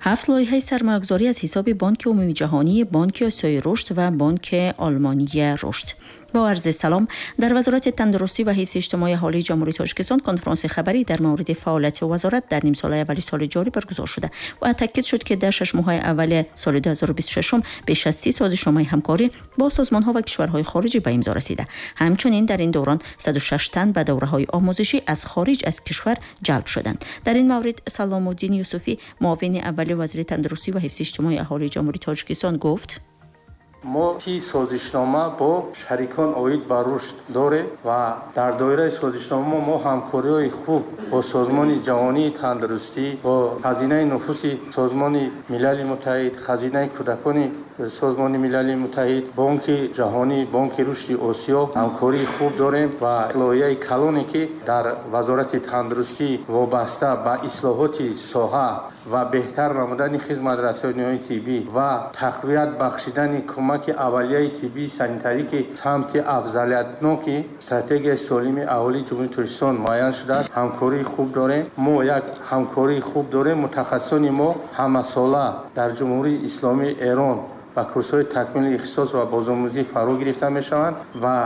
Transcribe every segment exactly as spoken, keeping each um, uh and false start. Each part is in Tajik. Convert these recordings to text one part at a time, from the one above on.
Ҳафт лоиҳаи сармоягузорӣ аз ҳисоби Бонки Умумии Ҷаҳонӣ, Бонки Осиёи Рушд ва Бонки Олмонии Рушд. Бо арзи салом, дар Вазорати тандурустӣ ва ҳифзи иҷтимоии аҳолии Ҷумҳурии Тоҷикистон конфронси хабарӣ дар мавриди фаъолияти вазорат дар нимсолаи аввали соли ҷорӣ баргузор шуда ва таъкид шуд, ки дар шаш моҳаи аввали соли ду ҳазору бисту шашум беш аз си созишномаи ҳамкорӣ бо созмонҳо ва кишварҳои хориҷӣ ба имзо расида. Ҳамчунин дар ин даврон саду шаш тан ба давраҳои омӯзишӣ аз хориҷ аз кишвар ҷалб шуданд. Дар ин маврид Саломуддин Юсуфӣ, муовини аввали вазири тандурустӣ ва ҳифзи иҷтимоии аҳолии Ҷумҳурии Тоҷикистон гуфт: мо си созишнома бо шарикон оид ба рушд дорем ва дар доираи созишнома мо ҳамкориҳои хуб бо Созмони Ҷаҳонии Тандурустӣ, бо Хазинаи Нуфуси Созмони Милали Муттаҳид, Хазинаи Кӯдакони Созмони Милали Муттаҳид, Бонки Ҷаҳонӣ, Бонки Рушди Осиё ҳамкории хуб дорем ва лоиҳаи калоне, ки дар Вазорати Тандурустӣ вобаста ба ислоҳоти соҳа ва беҳтар намудани хизматрасониҳои тиббӣ ва тақвият бахшидани кӯмаки аввалияи тиббии санитарӣ, ки самти афзалиятноки стратегияи солими аҳолии Ҷумҳурии Тоҷикистон муайян шудааст, ҳамкории хуб дорем. Мо як ҳамкории хуб дорем. Мутахассисони мо ҳамасола дар Ҷумҳурии Исломии Эрон ба курсҳои такмили ихтисос ва бозомӯзӣ фаро гирифта мешаванд ва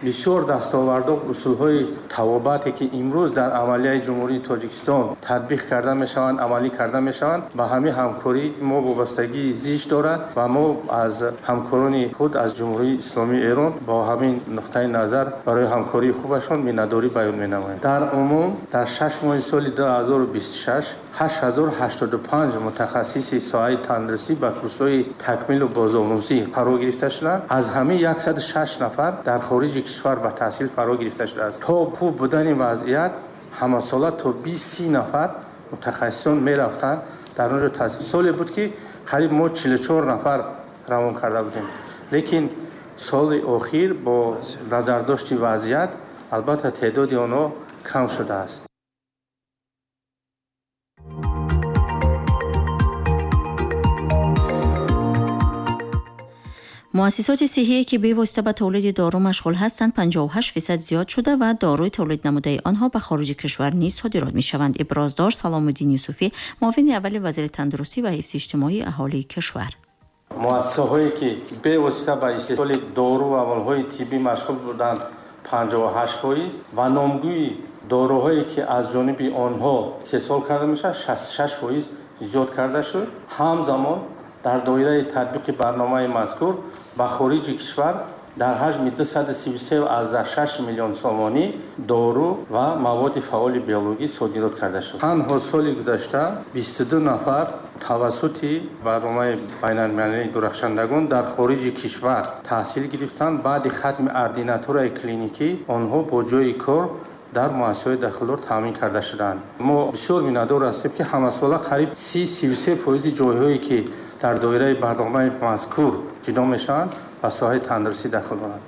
бисёр дастовардҳо, усулҳои тавобате, ки имрӯз дар амалияи Ҷумҳурии Тоҷикистон татбиқ карда мешаванд, амалӣ карда мешаванд, ба ҳамин ҳамкорӣ мо вобастагии зич дорад ва мо аз ҳамкорони худ аз Ҷумҳурии Исломии Эрон бо ҳамин нуқтаи назар барои ҳамкории хубашон миннатдорӣ баён менамоем. Дар умум дар шаш моҳи соли ду ҳазору бисту шаш ҳашт ҳазору ҳаштоду панҷ мутахассиси соҳаи тандурустӣ ба курсҳои такмилу бозомӯзӣ фаро гирифта шуданд. Аз ҳамин яксаду шаш нафар дар хориҷи кишвар ба таҳсил фаро гирифта шудааст. То хуб будани вазъият ҳамасола то бист си нафар мутахассисон мерафтанд дар онҷо таҳсил. Соле буд, ки қариб мо чилу чор нафар равон карда будем, лекин соли охир бо назардошти вазъият албатта теъдоди онҳо кам шудааст. Муассисоти сиҳие, ки бевосита ба тавлиди дору машғул ҳастанд, панҷоҳу ҳашт фисад зиёд шуда ва доруи тавлид намудаи онҳо ба хориҷи кишвар низ содирот мешаванд. Иброз дошт Саломуддин Юсуфӣ, муовини аввали вазири тандурустӣ ва ҳифзи иҷтимоии аҳолии кишвар. Муассисаҳое, ки бевосита ба истеҳсоли дору ва амалҳои тиббӣ машғул буданд, панҷоҳу ҳашт фоиз ва номгӯи доруҳое, ки аз ҷониби онҳо истеҳсол карда мешавад, шасту шаш фоиз зиёд карда шуд. Ҳамзамон дар доираи татбиқи барномаи мазкур ба хориҷи кишвар дар ҳаҷми дусаду сию се аз шаш миллион сомонӣ дору ва маводи фаъоли биологӣ содирот карда шуд. Танҳо соли гузашта бисту ду нафар тавассути барномаи байналмилалии дурахшандагон дар хориҷи кишвар таҳсил гирифтанд. Баъди хатми ординатураи клиникӣ онҳо бо ҷойи кор дар муассисаҳои дахлдор таъмин карда шуданд. Мо бисёр миннатдор ҳастем, ки ҳамасола қариб си сию се фоизи ҷойҳое, ки дар доираи барномаи мазкур ҷудо мешаванд, ба соҳаи тандурустӣ дахл доранд.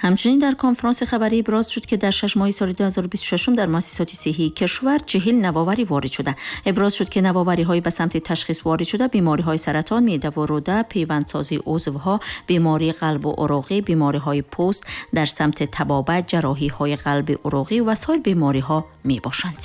Ҳамчунин дар конфронси хабарӣ иброз шуд, ки дар шаш моҳи соли ду ҳазору бисту шашум дар муассисоти сиҳии кишвар чиҳил навоварӣ ворид шуда. Иброз шуд, ки навовариҳои ба самти ташхис ворид шуда бемориҳои саратон, меъда ва рӯда, пайвандсозии узвҳо, бемории қалбу уруғӣ, бемориҳои пӯст дар самти табобат, ҷарроҳиҳои қалби уруғӣ ва соир бемориҳо мебошанд.